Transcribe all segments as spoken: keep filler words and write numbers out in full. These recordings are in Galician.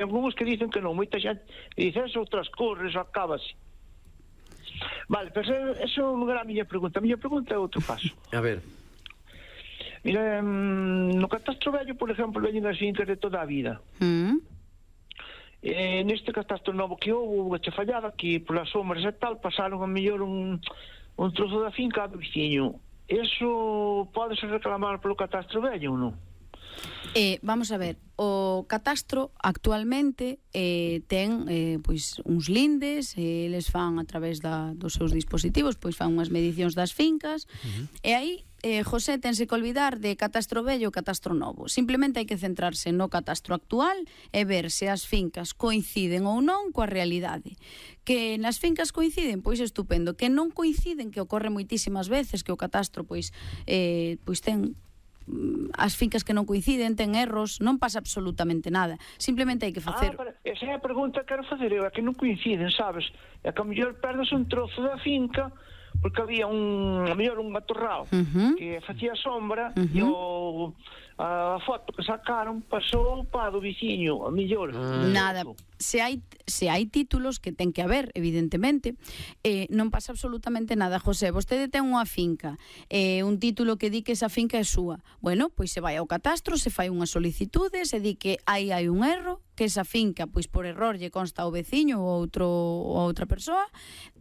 algúns que dicen que non, moita xente dicen outras cores, acábase. Vale, pero eso non era a miña pregunta. A miña pregunta é outro paso. A ver. Mira, no catastro vello, por exemplo, veñen as fincas de toda a vida. Mm. E neste catastro novo que houve, unha chafallada, que polas sombras e tal, pasaron a mellor un, un trozo da finca do veciño. Eso podese reclamar polo catastro vello ou non? Eh, vamos a ver, o catastro actualmente eh, ten eh, pois uns lindes, eh, eles fan a través da, dos seus dispositivos, pois fan unhas medicións das fincas, uh-huh. e aí eh, José tense que olvidar de catastro vello e catastro novo. Simplemente hai que centrarse no catastro actual e ver se as fincas coinciden ou non coa realidade. Que nas fincas coinciden, pois estupendo. Que non coinciden, que ocorre moitísimas veces, que o catastro pois eh, pois ten as fincas que non coinciden, ten erros, non pasa absolutamente nada. Simplemente hai que facer... Ah, esa é a pregunta que quero fazer eu, é que non coinciden, sabes? É que a mellor perdes un trozo da finca porque había un, a mellor un matorral uh-huh. que facía sombra uh-huh. e o, a foto que sacaron pasou para do viciño, a mellor. Uh-huh. Nada, se hai se hai títulos, que ten que haber, evidentemente, eh, non pasa absolutamente nada. José, vostede ten unha finca, eh, un título que di que esa finca é súa. Bueno, pois se vai ao catastro, se fai unha solicitude, se di que aí hai un erro, que esa finca, pois por error lle consta ao veciño ou outro ou outra persoa,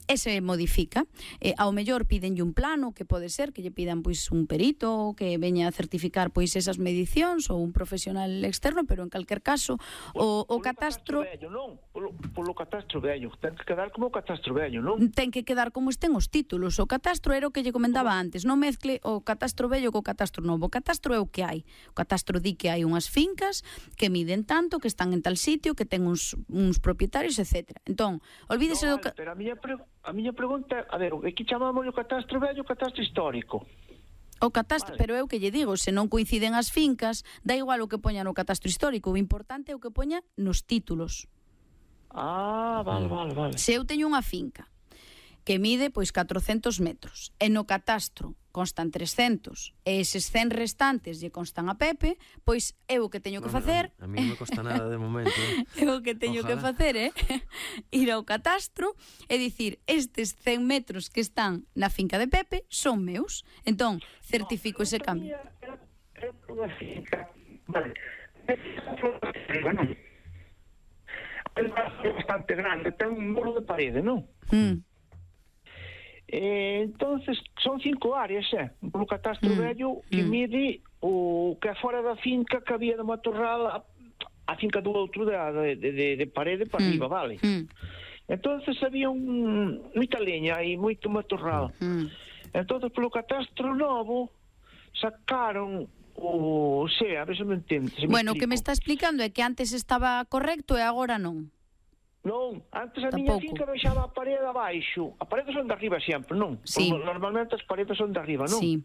e se modifica. Eh, ao mellor pídenlle un plano, que pode ser que lle pidan pois un perito que veña a certificar pois esas medicións ou un profesional externo, pero en calquer caso o, o catastro... catastro vello, non? Polo, polo catastro vello, ten que quedar como o catastro vello, non? Ten que quedar como estén os títulos. O catastro era o que lle comentaba antes, non mezcle o catastro vello co catastro novo. O catastro é o que hai. O catastro di que hai unhas fincas que miden tanto, que están en tal sitio, que ten uns, uns propietarios, etcétera. Entón, olvídese no, do... Ca... Pero a miña, pre... a miña pregunta, a ver, aquí chamamos o catastro vello, o catastro histórico. O catastro, vale. Pero é o que lle digo, se non coinciden as fincas, dá igual o que poña no catastro histórico, o importante é o que poña nos títulos. Ah, vale, vale, vale. Se eu teño unha finca que mide pois catrocentos metros e no catastro constan trescentos e eses cen restantes lle constan a Pepe, pois eu o que teño que facer... A, a mí non me costa nada de momento. Eh? Eu o que teño Ojalá. que facer é eh? ir ao catastro e dicir, estes cen metros que están na finca de Pepe son meus. Entón, certifico no, ese cambio. É unha finca, vale, non? É bastante grande, ten un muro de parede, non? Mm. Eh, entonces son cinco áreas, eh? Polo catastro mm. vello que mm. mide o que é fora da finca que había de matorral a, a finca do outro de, de, de, de parede para mm. arriba, vale? Mm. Entonces había un, moita leña e moito matorral. Mm. Entonces polo catastro novo sacaron o, o sea, a ver se me entende. Se me bueno, o que me explico. está explicando é que antes estaba correcto e agora non. Non, antes a Tampouco. miña finca deixaba a parede abaixo. A parede son de arriba sempre, non? Sí. Normalmente as paredes son de arriba, non? Sí.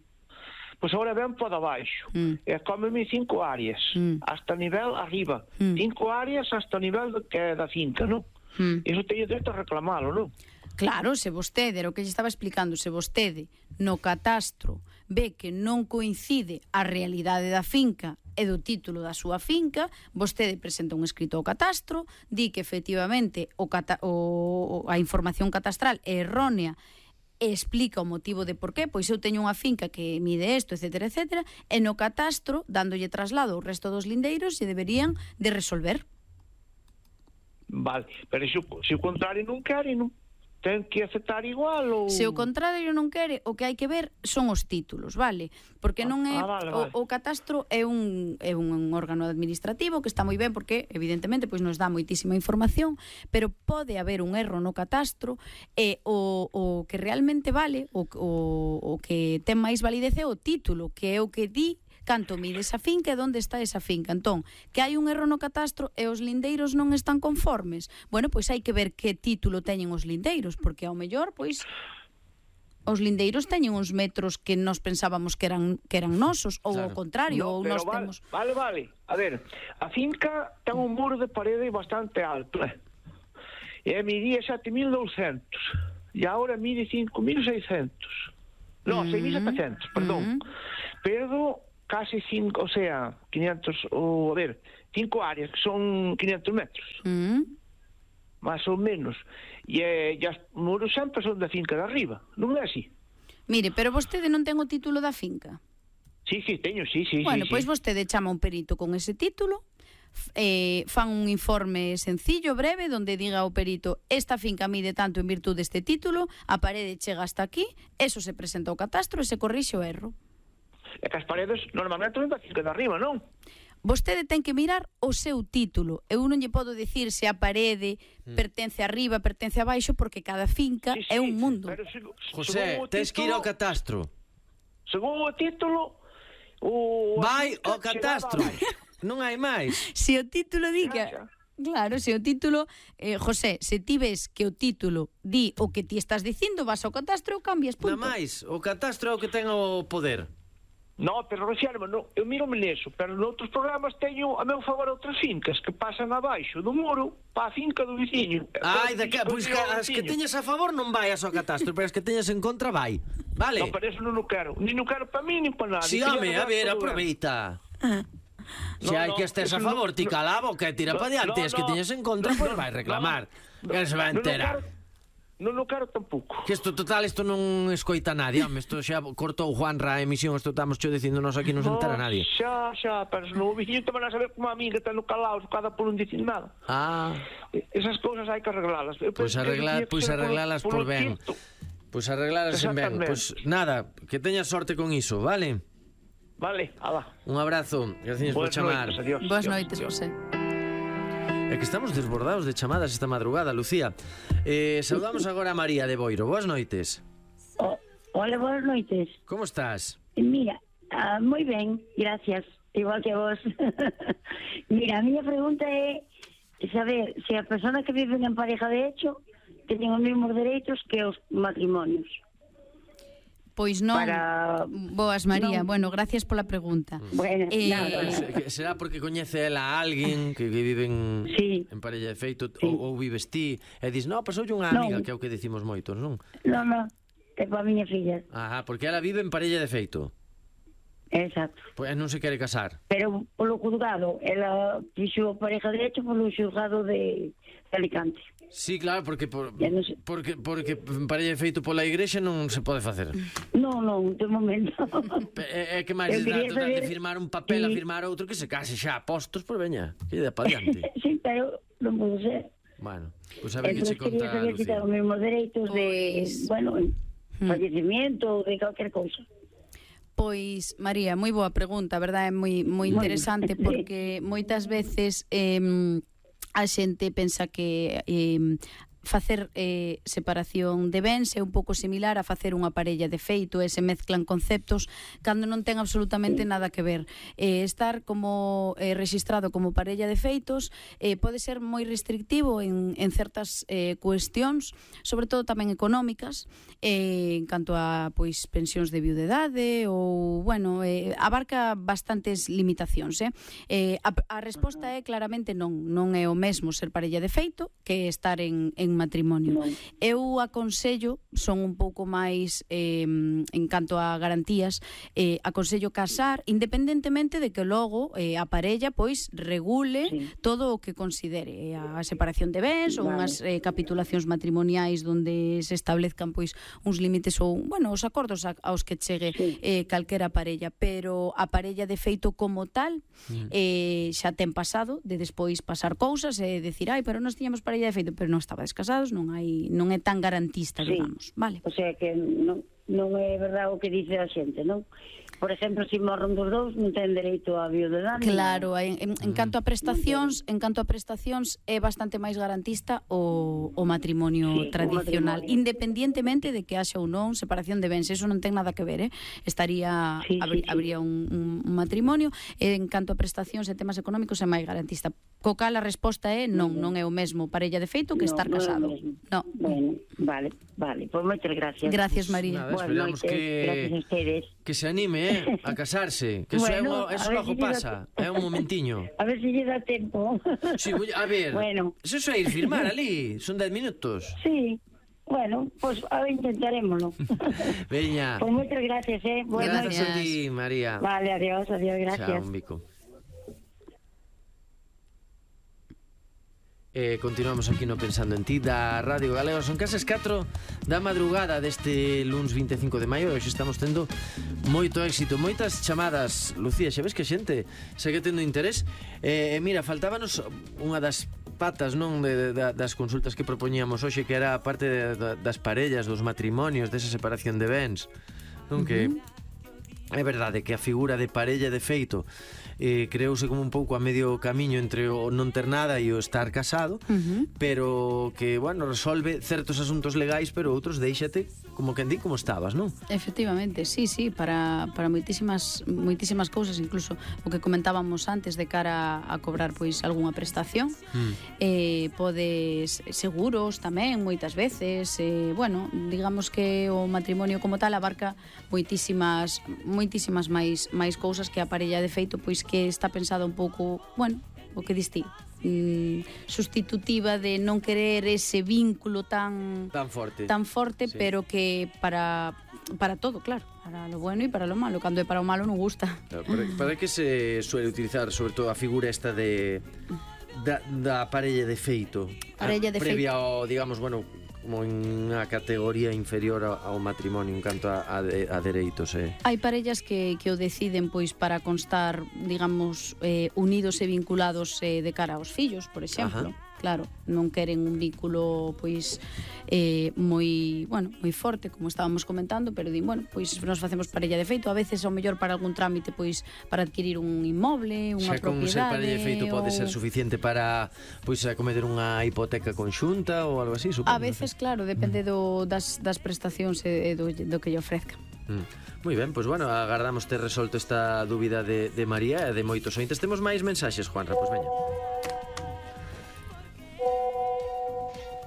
Pois agora ven para abaixo. Mm. E cómeme cinco áreas, mm. hasta nivel arriba. Mm. Cinco áreas hasta nivel de, que é da finca, non? Mm. Iso teño dereito a reclamalo, non? Claro, se vostede, era o que lle estaba explicando, se vostede no catastro ve que non coincide a realidade da finca e do título da súa finca, vostede presenta un escrito ao catastro, di que efectivamente o, cata, o a información catastral é errónea e explica o motivo de por qué, pois eu teño unha finca que mide isto, etcétera, etcétera, e no catastro, dándolle traslado ao resto dos lindeiros, se deberían de resolver. Vale, pero se, se o contrario non quere, non ten que aceptar igual ou... Se o contrario non quere, o que hai que ver son os títulos, vale? Porque non é... Ah, vale, vale. O, o catastro é un, é un órgano administrativo que está moi ben porque, evidentemente, pois nos dá moitísima información, pero pode haber un erro no catastro e o, o que realmente vale, o, o, o que ten máis validez é o título, que é o que di canto mide esa finca e onde está esa finca. Entón, que hai un erro no catastro e os lindeiros non están conformes. Bueno, pois hai que ver que título teñen os lindeiros, porque ao mellor, pois, os lindeiros teñen uns metros que nós pensábamos que eran que eran nosos, ou claro. ao contrario, no, ou nós vale, temos... Vale, vale. A ver, a finca ten un muro de parede bastante alto, eh? E midía sete mil douscentos. E agora mide cinco mil seiscentos. No, mm. seis mil setecentos, perdón. Mm. Pero casi cinco, o sea, quinientos, o, a ver, cinco áreas, que son quinhentos metros. Mm. Más ou menos. E, eh, e os muros sempre son da finca de arriba, non é así? Mire, pero vostede non ten o título da finca? Sí, sí, teño, sí, sí. Bueno, sí, pois sí. vostede chama un perito con ese título, eh, fan un informe sencillo, breve, donde diga ao perito esta finca mide tanto en virtud deste título, a parede chega hasta aquí, eso se presenta ao catastro e se corrixe o erro. É que as paredes normalmente son da finca de arriba, non? Vostede ten que mirar o seu título. Eu non lle podo dicir se a parede mm. pertence arriba, pertence abaixo, porque cada finca sí, sí, é un mundo. Pero se, José, tens que ir ao catastro. Según o título, o... Vai ao catastro. Non hai máis. Se o título diga... Claro, se o título... Eh, José, se ti ves que o título di o que ti estás dicindo, vas ao catastro e cambias, punto. Non máis, o catastro é o que ten o poder. No, pero refirme, no, eu miro-me neso, pero noutros programas teño a meu favor outras fincas que pasan abaixo do muro para a finca do viciño. Ai, de que, pois que as que teñas a favor non vaias ao catastro, pero as que teñas en contra vai. Vale? No, pero eso non o quero. Nin o quero para mí, nin para nada. Si, home, a ver, aproveita. Se hai que estés a favor, ti cala a boca e tira para diante, as que teñas en contra, pois vai reclamar. Que se vai enterar. Non o quero tampouco. Que isto, total, isto non escoita nadie, home, isto xa cortou Juanra a emisión, isto estamos cho dicindo nos aquí, non se entera nadie. Xa, xa, pero se non o viciño te van a saber como a mí que está no calao, cada por non dicir nada. Ah. Esas cousas hai que arreglalas. Pois arreglar, pois arreglalas por ben. Pois arreglalas en ben. Pois nada, que teñas sorte con iso, vale? Vale, ala. Un abrazo, gracias por chamar. Boas noites, José. É que estamos desbordados de chamadas esta madrugada, Lucía. Eh, saudamos agora a María de Boiro. Boas noites. Oh, hola, boas noites. Como estás? Mira, uh, moi ben, gracias. Igual que a vos. Mira, a miña pregunta é saber se a persona que vive en pareja de hecho teñen os mesmos dereitos que os matrimonios. Pois non. Para... Boas, María. Non. Bueno, gracias pola pregunta. Bueno, eh... nada, nada. Será porque coñece ela a alguén que, que vive en, sí. en parella de feito, sí. ou, ou vives ti e dis, no, pasoulle unha amiga, non. Que é o que decimos moitos, non? Non, non, é para a miña filla. Ajá, porque ela vive en parella de feito. Exacto. Pois non se quere casar. Pero polo juzgado, ela fixo pareja de hecho polo xulgado de Alicante. Sí, claro, porque por, no sé. porque porque parella feito pola igrexa non se pode facer. Non, non, de momento. É, é que máis de, saber... de firmar un papel sí. A firmar outro que se case xa postos por veña. Que ida para diante. Sí, pero non pode ser. Bueno, pois pues a ver que che conta Lucía. Entonces quería saber se ten os mesmos dereitos pues... de, bueno, hmm. fallecimiento ou de calquer cousa. Pois, María, moi boa pregunta, verdade? É moi moi interesante porque moitas veces eh, a xente pensa que eh, facer eh, separación de bens é un pouco similar a facer unha parella de feito, e se mezclan conceptos cando non ten absolutamente nada que ver. Eh, estar como eh, registrado como parella de feitos eh, pode ser moi restrictivo en, en certas eh, cuestións, sobre todo tamén económicas, eh, en canto a pois pensións de viudedade ou, bueno, eh, abarca bastantes limitacións. Eh? Eh, a, a resposta é claramente non, non é o mesmo ser parella de feito que estar en, en matrimonio. No. Eu aconsello, son un pouco máis eh, en canto a garantías, eh, aconsello casar independentemente de que logo eh, a parella pois regule sí. todo o que considere a separación de bens, vale. Ou unhas eh, capitulacións matrimoniais donde se establezcan pois uns límites ou, bueno, os acordos a, aos que chegue sí. eh, calquera parella, pero a parella de feito como tal mm. eh, xa ten pasado de despois pasar cousas e decir, ai, pero nós tiñamos parella de feito, pero non estaba descasados, non hai, non é tan garantista, sí. digamos, vale? O sea que non, non é verdade o que dice a xente, non? Por exemplo, se morren dos dous, non ten dereito a viudedade. Claro, en, en, en canto a prestacións, en canto a prestacións é bastante máis garantista o, o matrimonio sí, tradicional, o matrimonio. Independientemente de que haxa ou non separación de bens, eso non ten nada que ver, eh? Estaría sí, abri, sí, sí. habría un, un, un matrimonio, en canto a prestacións e temas económicos é máis garantista. Co cal a resposta é non, non é o mesmo parella de feito que no, estar casado. No. Bueno, vale, vale. Pois pues moitas gracias. Gracias, María. Nada, esperamos noites, que gracias a ustedes. Que se anime, eh, a casarse, que bueno, eso, é, eso logo si pasa, é un momentiño. A ver se lle dá tempo. Sí, a ver, bueno. Eso é ir firmar ali, son dez minutos. Sí. Bueno, pues a ver, intentaremoslo. Veña. Pues moitas gracias, eh. Buenas gracias a ti, María. Vale, adiós, adiós, gracias. Chao, un bico. Eh, continuamos aquí no Pensando en Ti da Radio Galega. Son case as catro da madrugada deste luns vinte e cinco de maio. Hoxe estamos tendo moito éxito, moitas chamadas. Lucía, xa ves que a xente segue tendo interés. E eh, mira, faltábanos unha das patas, non, de, de, das consultas que propoñíamos hoxe, que era a parte de, de, das parellas, dos matrimonios, desa separación de bens, non? Uh-huh. Que é verdade que a figura de parella de feito eh, creouse como un pouco a medio camiño entre o non ter nada e o estar casado, uh-huh. pero que, bueno, resolve certos asuntos legais, pero outros déixate como quen di como estabas, non? Efectivamente, sí, sí, para, para moitísimas moitísimas cousas, incluso o que comentábamos antes de cara a cobrar pois algunha prestación, mm. eh, podes seguros tamén moitas veces, eh, bueno, digamos que o matrimonio como tal abarca moitísimas moitísimas máis máis cousas que a parella de feito pois que está pensada un pouco, bueno, o que diste, mm, sustitutiva de non querer ese vínculo tan tan forte, tan forte, sí. Pero que para para todo, claro, para lo bueno e para lo malo. Cando é para o malo non gusta. Claro, para, para que se suele utilizar sobre todo a figura esta de da, da parella de feito, parella de previa feito. ao, digamos, bueno, como en unha categoría inferior ao matrimonio en canto a, a, a dereitos, eh. Hai parellas que, que o deciden pois para constar, digamos, eh, unidos e vinculados eh, de cara aos fillos, por exemplo. Ajá. Claro, non queren un vínculo pois eh, moi, bueno, moi forte, como estábamos comentando, pero din, bueno, pois nos facemos parella de feito, a veces ao mellor para algún trámite pois para adquirir un inmoble, unha propiedade. Xa con ser parella de feito pode ser suficiente para pois acometer unha hipoteca conxunta ou algo así, supongo. A veces, claro, depende do, das, das prestacións e do, do que lle ofrezca. Mm. Moi ben, pois bueno, agardamos ter resolto esta dúbida de, de María e de moitos ointes. Temos máis mensaxes, Juanra, pois veña.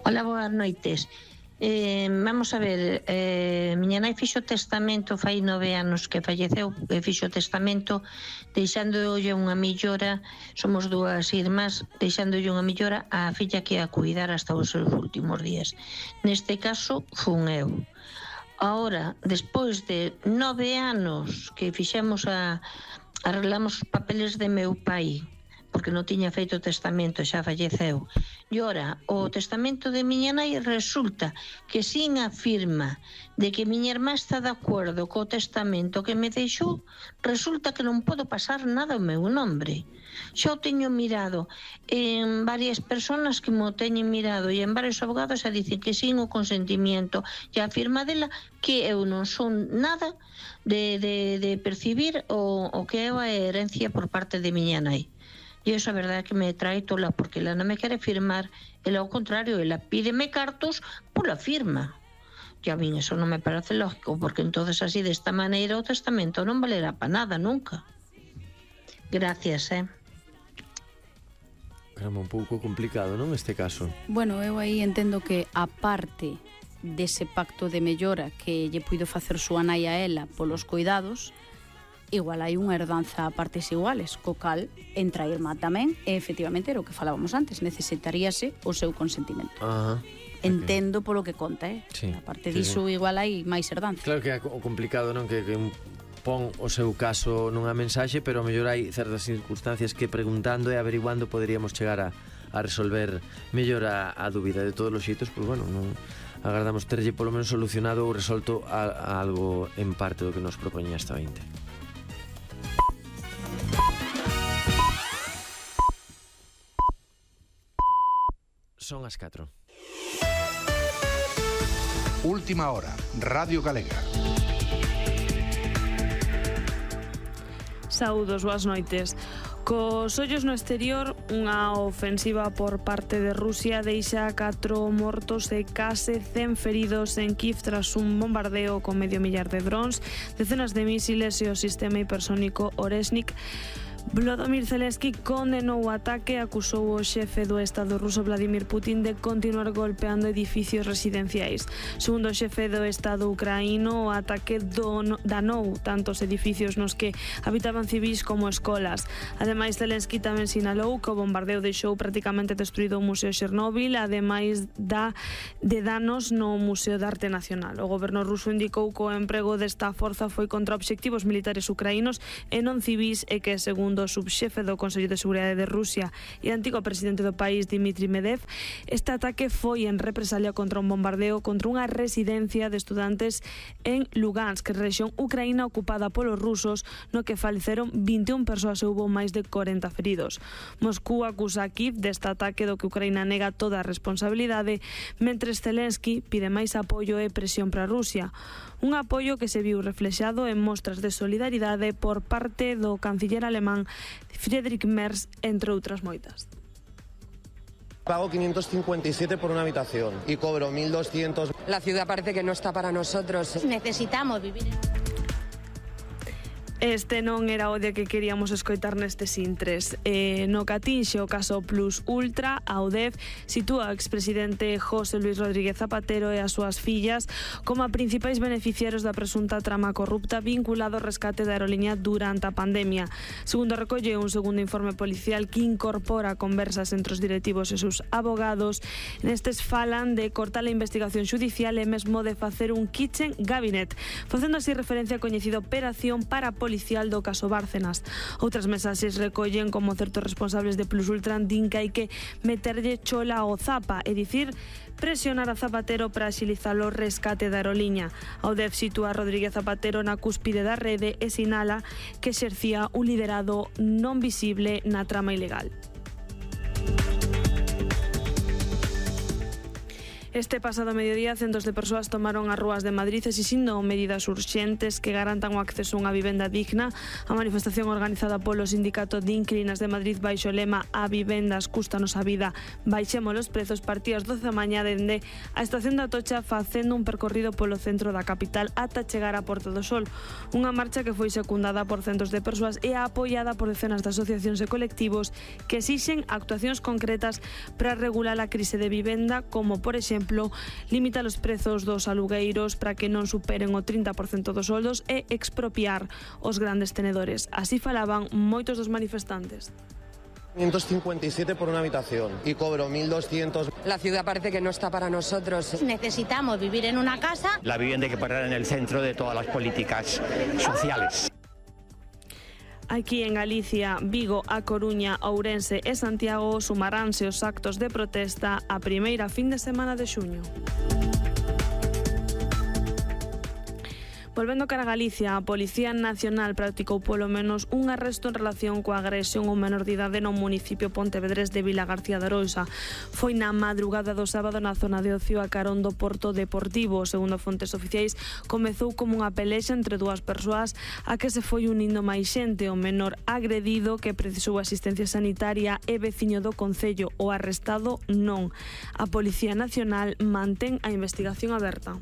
Hola, boas noites. Eh, vamos a ver, eh, miña nai fixo testamento fai nove anos que falleceu, e fixo testamento deixándolle unha millora, somos dúas irmás, deixándolle unha millora á filla que a cuidar hasta os seus últimos días. Neste caso, fun eu. Ahora, despois de nove anos que fixemos a arreglamos os papeles de meu pai, porque non tiña feito testamento, xa falleceu. E ora, o testamento de miña nai resulta que sin a firma de que miña irmá está de acordo co testamento que me deixou, resulta que non podo pasar nada ao meu nombre. Xa o teño mirado en varias personas que mo teñen mirado e en varios abogados a dicen que sin o consentimiento e a firma dela que eu non son nada de, de, de percibir o, o que é a herencia por parte de miña nai. E iso a verdade é que me trae tola, porque ela non me quere firmar, ela ao contrario, ela pídeme cartos pola firma. E a min eso non me parece lógico, porque entonces así desta maneira o testamento non valerá para nada nunca. Gracias, eh. Era un pouco complicado, non, este caso? Bueno, eu aí entendo que a parte dese pacto de mellora que lle puido facer súa nai a ela polos cuidados, igual hai unha herdanza a partes iguales, co cal entra a irmá tamén, e efectivamente era o que falábamos antes, necesitaríase o seu consentimento. Ajá. Entendo polo que conta, eh? Sí, a parte sí, diso sí. Igual hai máis herdanza. Claro que é o complicado, non, que, que un pon o seu caso nunha mensaxe, pero a mellor hai certas circunstancias que preguntando e averiguando poderíamos chegar a, a resolver mellor a, a dúbida. De todos os xeitos, pois bueno, non agardamos terlle polo menos solucionado ou resolto a, a algo en parte do que nos propoñía esta vinte. Son as catro. Última hora, Radio Galega. Saúdos, boas noites. Cos ollos no exterior, unha ofensiva por parte de Rusia deixa catro mortos e case cen feridos en Kiev tras un bombardeo con medio millar de drons, decenas de mísiles e o sistema hipersónico Oreshnik. Volodymyr Zelensky condenou o ataque e acusou o xefe do Estado ruso Vladimir Putin de continuar golpeando edificios residenciais. Segundo o xefe do Estado ucraíno, o ataque don, danou tantos edificios nos que habitaban civis como escolas. Ademais, Zelensky tamén sinalou que o bombardeo deixou prácticamente destruído o Museo Chernobyl, ademais da de danos no Museo de Arte Nacional. O goberno ruso indicou que o emprego desta forza foi contra obxectivos militares ucraínos e non civis e que, segundo do subxefe do Consello de Seguridade de Rusia e antigo presidente do país Dmitry Medvedev, este ataque foi en represalia contra un bombardeo contra unha residencia de estudantes en Lugansk, rexión ucraína ocupada polos rusos, no que faleceron vinte e unha persoas e houbo máis de corenta feridos. Moscú acusa a Kiev deste ataque do que Ucraína nega toda a responsabilidade, mentres Zelensky pide máis apoio e presión para Rusia. Un apoio que se viu reflexado en mostras de solidaridade por parte do canciller alemán Friedrich Merz, entre outras moitas. Pago quinientos cincuenta y siete por una habitación y cobro mil doscientos. La ciudad parece que no está para nosotros. Necesitamos vivir en... Este non era o día que queríamos escoitar nestes intres. Eh, no catinxe o caso Plus Ultra, a U D E F sitúa o expresidente José Luis Rodríguez Zapatero e as súas fillas como a principais beneficiarios da presunta trama corrupta vinculado ao rescate da aeroliña durante a pandemia. Segundo recolle un segundo informe policial que incorpora conversas entre os directivos e seus abogados, nestes falan de cortar a investigación xudicial e mesmo de facer un kitchen cabinet, facendo así referencia a coñecido operación para policial do caso Bárcenas. Outras mensaxes recollen como certos responsables de Plus Ultra din que hai que meterlle chola ao Zapa, é dicir, presionar a Zapatero para axilizar o rescate da aeroliña. A U D E F sitúa a Rodríguez Zapatero na cúspide da rede e sinala que exercía un liderado non visible na trama ilegal. Este pasado mediodía, centos de persoas tomaron as rúas de Madrid exixindo medidas urxentes que garantan o acceso a unha vivenda digna. A manifestación organizada polo Sindicato de Inquilinas de Madrid baixo o lema "A vivendas cústanos a vida, baixemos os prezos", partía ás doce da mañá dende a estación da Atocha facendo un percorrido polo centro da capital ata chegar á Porta do Sol. Unha marcha que foi secundada por centos de persoas e apoiada por decenas de asociacións e colectivos que exixen actuacións concretas para regular a crise de vivenda, como por exemplo limitar os prezos dos alugueiros para que non superen o trinta por cento dos soldos e expropiar os grandes tenedores. Así falaban moitos dos manifestantes. quinientos cincuenta y siete por una habitación y cobro mil doscientos. La ciudad parece que no está para nosotros. Necesitamos vivir en una casa. La vivienda hay que poner en el centro de todas las políticas sociales. Aquí en Galicia, Vigo, A Coruña, Ourense e Santiago sumaránse os actos de protesta a primeira fin de semana de xuño. Volvendo cara a Galicia, a Policía Nacional practicou polo menos un arresto en relación coa agresión a un menor de idade no municipio pontevedrés de Vilagarcía de Arousa. Foi na madrugada do sábado na zona de ocio a carón do Porto Deportivo. Segundo fontes oficiais, comezou como unha pelexa entre dúas persoas a que se foi unindo máis xente. O menor agredido, que precisou asistencia sanitaria, e veciño do concello. O arrestado non. A Policía Nacional mantén a investigación aberta.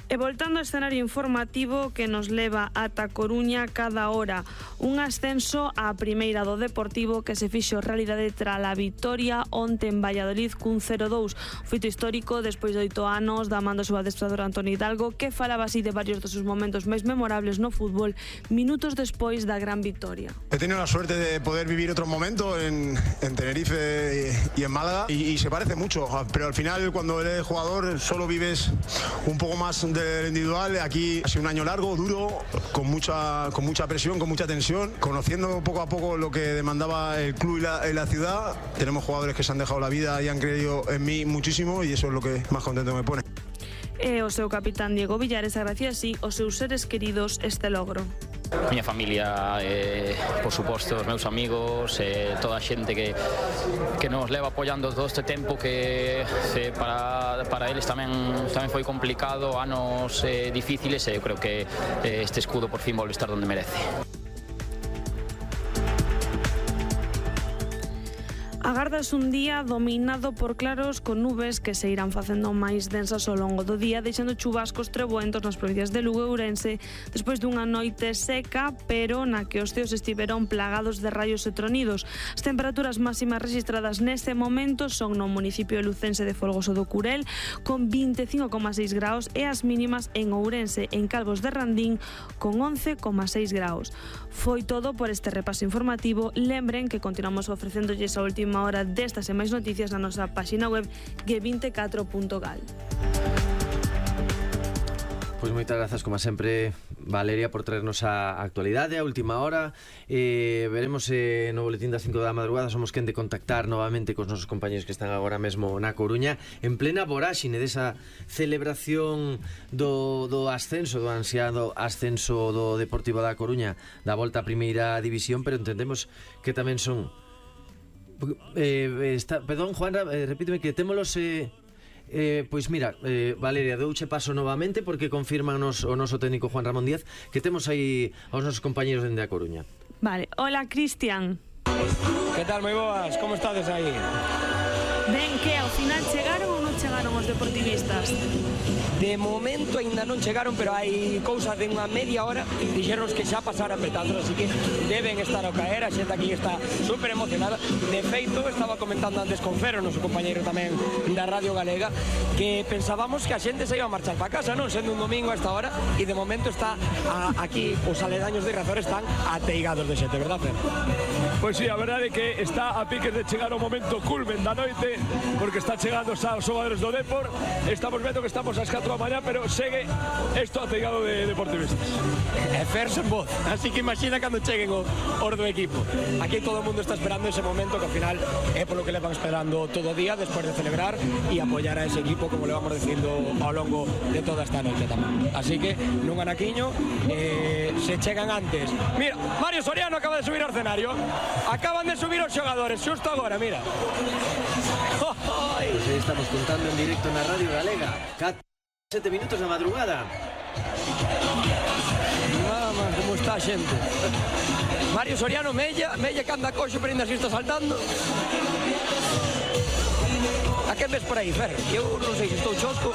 E voltando ao escenario informativo que nos leva ata Coruña cada hora, un ascenso á primeira do Deportivo que se fixo realidade tras a vitoria onte en Valladolid cun cero dous, feito histórico despois de oito anos da man do seu adestrador Antonio Hidalgo, que falaba así de varios dos seus momentos máis memorables no fútbol minutos despois da gran vitoria. He tenido la suerte de poder vivir otro momento en, en Tenerife y en Málaga y, y se parece mucho, pero al final cuando eres jugador solo vives un poco más del individual. Aquí ha sido un año largo, duro, con mucha, con mucha presión, con mucha tensión, conociendo poco a poco lo que demandaba el club y la, y la ciudad. Tenemos jugadores que se han dejado la vida y han creído en mí muchísimo y eso es lo que más contento me pone. E o seu capitán Diego Villares agracia así aos seus seres queridos este logro. Miña familia, eh, por suposto, os meus amigos, eh, toda a xente que, que nos leva apoiando todo este tempo que eh, para, para eles tamén, tamén foi complicado, anos eh, difíciles, e eu creo que eh, este escudo por fin volve estar donde merece. Agardas un día dominado por claros con nubes que se irán facendo máis densas ao longo do día, deixando chubascos treboentos nas provincias de Lugo e Ourense despois dunha noite seca, pero na que os ceos estiveron plagados de raios e tronidos. As temperaturas máximas registradas neste momento son no municipio lucense de Folgoso do Curel con vinte e cinco coma seis graus e as mínimas en Ourense, en Calvos de Randín, con once coma seis graus. Foi todo por este repaso informativo. Lembren que continuamos ofrecéndolles a última hora destas e máis noticias na nosa páxina web ge vinte e catro punto gal. Pois moitas grazas, como sempre, Valeria, por traernos a actualidade, a última hora. eh, Veremos se eh, no boletín das cinco da madrugada somos quen de contactar novamente cos nosos compañeros que están agora mesmo na Coruña, en plena voráxine desa celebración do, do ascenso, do ansiado ascenso do Deportivo da Coruña, da volta a primeira división, pero entendemos que tamén son... Eh, está, perdón, Juan, eh, repíteme que témolos... Eh, Eh, pois mira, eh, Valeria, douche paso novamente porque confirman nos, o noso técnico Juan Ramón Díaz que temos aí aos nosos compañeros dende a Coruña. Vale, hola Cristian. Que tal, moi boas? Como estades aí? Ben, que ao final chegaron ou non chegaron os deportivistas? De momento ainda non chegaron, pero hai cousas de unha media hora dixeron que xa pasaran petazos, así que deben estar ao caer. A xente aquí está super emocionada. De feito, estaba comentando antes con Fero, noso compañeiro tamén da Radio Galega, que pensábamos que a xente se iba a marchar para casa, non? Sendo un domingo a esta hora, e de momento está a, aquí os aledaños de Riazor están ateigados de xente, verdad, Fer? Pois sí, a verdade é que está a piques de chegar o momento culmen da noite, porque está chegando xa os xogadores do Depor. Estamos vendo que estamos ás catro da mañá, pero segue isto ateigado de deportivistas. É Fer sen voz, así que imagina cando cheguen o, os do equipo. Aquí todo o mundo está esperando ese momento, que ao final é polo que levan esperando todo o día despois de celebrar e apoiar a ese equipo, como le vamos dicindo ao longo de toda esta noite tamén. Así que nun anaquiño eh, se chegan antes. Mira, Mario Soriano acaba de subir ao escenario. Acaban de subir os xogadores xusto agora, mira. Pois aí estamos contando en directo na Radio Galega. Sete minutos da madrugada. Mamá, como está a xente. Mario Soriano, Mella, Mella que anda coxo, pero ainda así está saltando. A quen ves por aí, Fer? Eu non sei se estou chosco.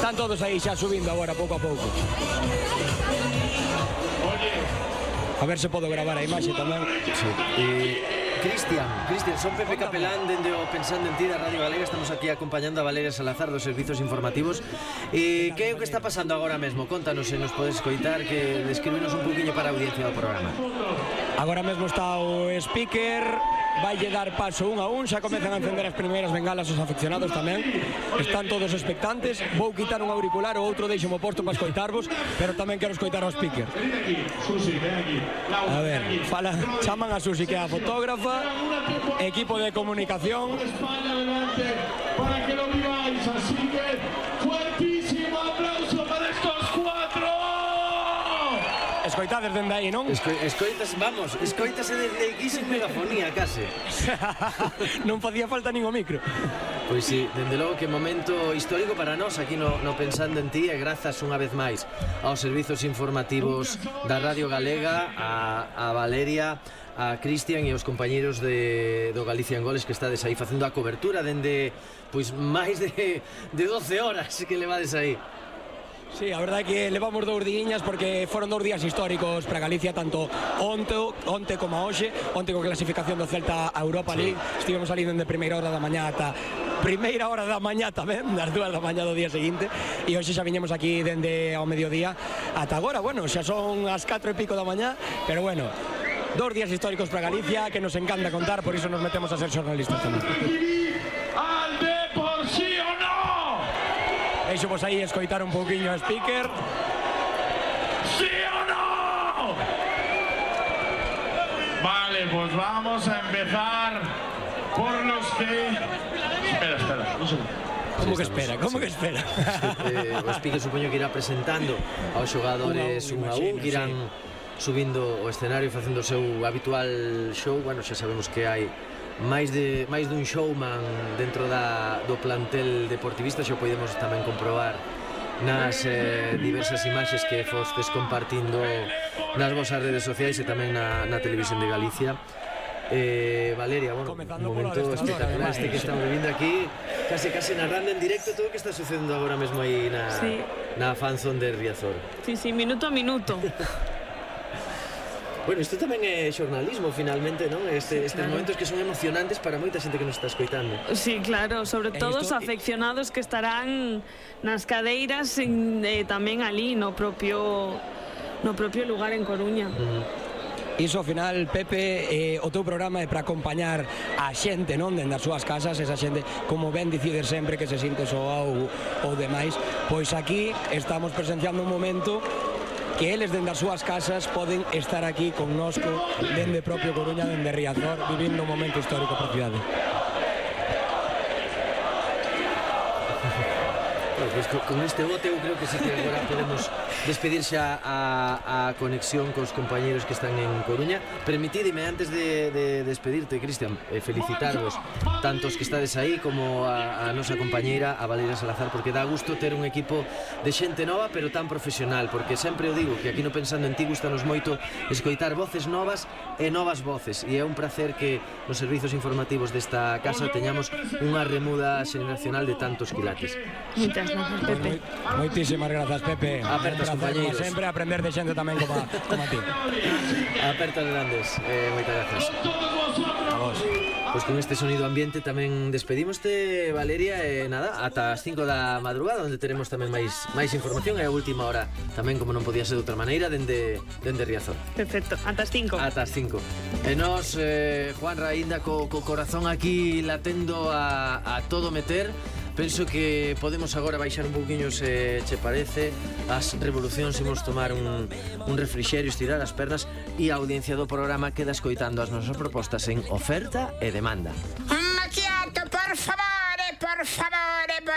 Están todos aí xa subindo agora, pouco a pouco. A ver se podo gravar a imaxe tamén. Sí. E... Cristian, Cristian, son Pepe Capelán dende o Pensando en Ti da Radio Galega. Estamos aquí acompañando a Valeria Salazar dos servizos informativos. E que é o que está pasando agora mesmo? Contanos se nos podes coitar, que describirnos un poquinho para a audiencia do programa. Agora mesmo está o speaker, vaille dar paso un a un, xa comezan a encender as primeiras bengalas os aficionados tamén. Están todos expectantes. Vou quitar un auricular, o outro deixo-mo posto para escoitarvos, pero tamén quero escoitar o speaker. A ver, fala, chaman a Susi, que é a fotógrafa, equipo de comunicación. España adelante para que lo viváis, así que fuertísimo aplauso para estos cuatro. Escoitades dende aí, non? Esco, escoitas, vamos, escoitase desde aquí sin megafonía, case. Non podía falta nin o micro. Pois sí, dende logo que momento histórico para nós aquí no, no Pensando en Ti, e grazas unha vez máis aos servizos informativos da Radio Galega, a, a Valeria, a Cristian e aos compañeiros de, do Galicia en Goles, que estades aí facendo a cobertura dende pois máis de, de doce horas que levades aí. Sí, a verdade é que levamos dous diñas porque foron dous días históricos para Galicia, tanto onte, onte como a hoxe. Onte con clasificación do Celta a Europa League, sí. Estivemos ali dende primeira hora da mañá ata primeira hora da mañá tamén, das dúas da mañá do día seguinte, e hoxe xa viñemos aquí dende ao mediodía ata agora. Bueno, xa son as catro e pico da mañá, pero bueno, dos días históricos para Galicia que nos encanta contar, por iso nos metemos a ser xornalistas tamén. Al Depor, sí o no? Deixo vos aí escoitar un pouquiño a speaker. Sí o no? Vale, pues vamos a empezar por los que... Espera, espera, un segundo. Como que espera, como que espera? eh, o speaker supoño que irá presentando aos xogadores un a un, que irán subindo o escenario facendo o seu habitual show. Bueno, xa sabemos que hai máis de máis dun showman dentro da, do plantel deportivista. Xa podemos tamén comprobar nas eh, diversas imaxes que fostes compartindo nas vosas redes sociais e tamén na, na televisión de Galicia. Eh, Valeria, bueno, un momento espectacular este que estamos vivindo aquí, case case narrando en directo todo o que está sucedendo agora mesmo aí na, sí. na fanzone de Riazor. Sí, sí, minuto a minuto. Bueno, isto tamén é xornalismo, finalmente, non? Este, estes claro. momentos que son emocionantes para moita xente que nos está escoitando. Sí, claro, sobre todo os afeccionados que estarán nas cadeiras e eh, tamén ali no propio no propio lugar en Coruña. Uh -huh. Iso ao final, Pepe, eh, o teu programa é para acompañar a xente, non, dende as súas casas, esa xente, como ben dicides sempre que se sinte soa ou, ou demais, pois aquí estamos presenciando un momento que eles dende as súas casas poden estar aquí connosco dende propio Coruña, dende Riazor, vivindo un momento histórico para a cidade. Pues con este bote eu creo que sí que agora podemos despedir xa a, a conexión cos compañeros que están en Coruña. Permitideme, antes de, de despedirte, Cristian, eh, felicitarvos tantos que estades aí como a, a nosa compañeira, a Valeria Salazar, porque dá gusto ter un equipo de xente nova pero tan profesional, porque sempre o digo que aquí no Pensando en Ti gustanos moito escoitar voces novas e novas voces, e é un placer que nos servizos informativos desta casa teñamos unha remuda xeneracional de tantos quilates. Moitas grazas, Pepe. Moitísimas grazas, Pepe. Apertas, compañeiros. Como sempre, aprender de xente tamén como a, como a ti. Apertas grandes. Eh, moitas grazas. A vos. Pois con este sonido ambiente tamén despedimoste, Valeria, e nada, ata as cinco da madrugada, onde teremos tamén máis máis información, e a última hora tamén, como non podía ser de outra maneira, dende, dende Riazor. Perfecto, ata as cinco. Ata as cinco. E nos, eh, Juan Raínda, co, co corazón aquí latendo a, a todo meter. Penso que podemos agora baixar un pouquiño, se che parece, as revolucións, imos tomar un, un refrixerio, estirar as pernas, e a audiencia do programa queda escoitando as nosas propostas en Oferta e Demanda. Un macchiato, por favore, por favore, por